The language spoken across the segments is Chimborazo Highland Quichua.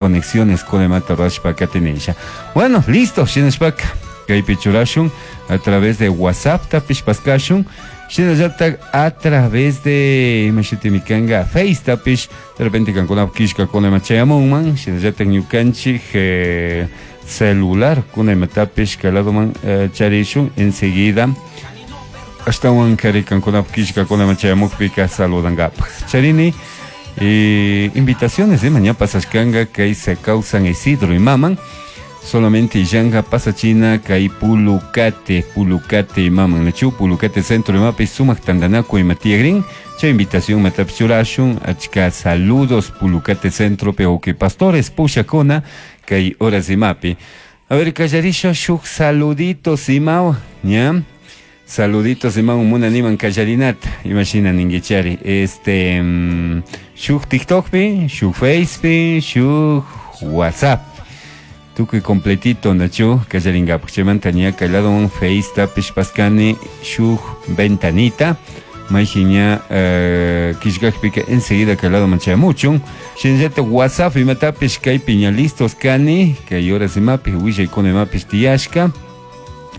Conexiones kunemanta rurashpa katinisha. Bueno, listo, shinashpaka kaypi churashun a través de WhatsApp tapish paskashun, shinallatak a través de ima shutimi kanga Face tapish, de repente kankunapak killkakuna chayamunman, shinallatak ñukanchik celular kuna imatapish kay ladoman charishun enseguida ashtawan kari kankunapak killkakuna chayamukpika saludankapak. Charini invitaciones ña pasashkanga kay Secau San Isidro imaman, solamente illanga pasachina kay Pulucate, Pulucate imaman, nachu Pulucate centro imapi sumak tandanaku ima tiyagrin, chay invitación matapish churashun, achka saludos Pulucate centro pe uki pastores pushakuna kay horas imapi. A ver, kallarisha shuk saluditos imaw, ña? Saluditos imaw munaniman kallarinata, imashina ninguichari. Shuk TikTokpi, shuk Facepi, shuk WhatsApp. Tukuy completito nachu kallaringapak. Chaymanta ña kay ladoman Face tapish paskani shuk ventanita. Mayji ña killkakpika enseguida kay ladoman chayamuchun. Shinallata WhatsApp imatapish kaypi ña listos kani, kay horas imapi, willaykuna imapish tiyashka.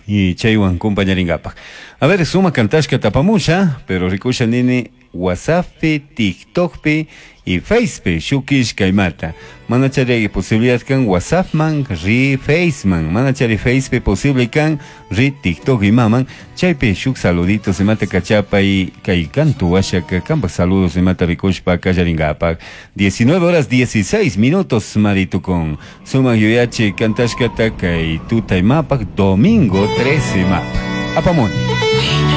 Y chaywan compañaringapak. A ver, suma kantashka tapamusha, pero rikusha nini WhatsApppi, TikTokpi y Facepi shuk killkaymata. Mana chari posibilidad kan WhatsAppman, ri Faceman. Mana chari Facepi posible kan ri TikTok imaman. Chaypi shuk saluditos imata kachapay kay kantu washaka kampak saludos imata rikushpa kallaringapak. 19 horas 16 minutos maritukun. Sumak yuyachi kantashkata kay tuta imapak domingo 13 imapak. Apamuni.